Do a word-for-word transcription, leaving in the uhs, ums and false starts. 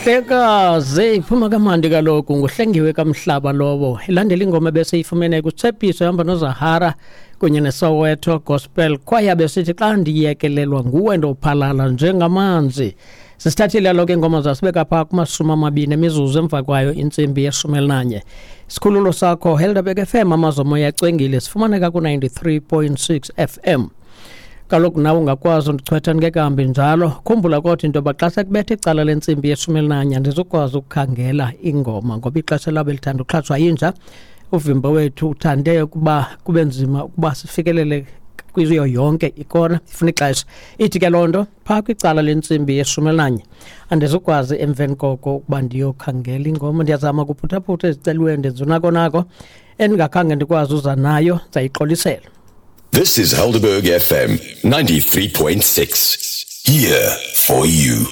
Mhlekazi iphuma kamandi kaloku nguHlengiwe kaMhlaba lowo. Ilandela ingoma ebeseyifumene kuTshepiso ehamba noZahara kunye neSoweto Gospel Choir, besithi xa ndiyekelelwa nguwe ndophalala njengamanzi. Sisithathile kaloku iingoma zasibeka phaa kumashumi amabini emizuzu emva kwayo intsimbi yeshumi elinanye. Sikhululo sakho Helderberg F M, Amazomoya acwengile, sifumaneka ku-ninety-three point six F M. Kaloku nawe ungakwazi undichwetha ndingekahambi njalo. Khumbula kodwa into yoba xa sekubetha icala lentsimbi yeshumi elinanye andizukwazi ukukhangela ingoma ngoba ixesha labo elithanda uxhatshwa yinja. Uvimba wethu uthande ukuba kube nzima ukuba sifikelele kuyo yonke ikona, ifuna ixesha. Ithi ke loo nto phaa kwicala lentsimbi yeshumi elinanye andizukwazi emveni koko ukuba ndiyokhangela ingoma. Ndiyazama kuphuthaphutha eziceliweyo, ndenza unako nako endingakhange ndikwazi uza nayo, ndizayixolisela. This is Helderberg F M ninety-three point six. Here for you.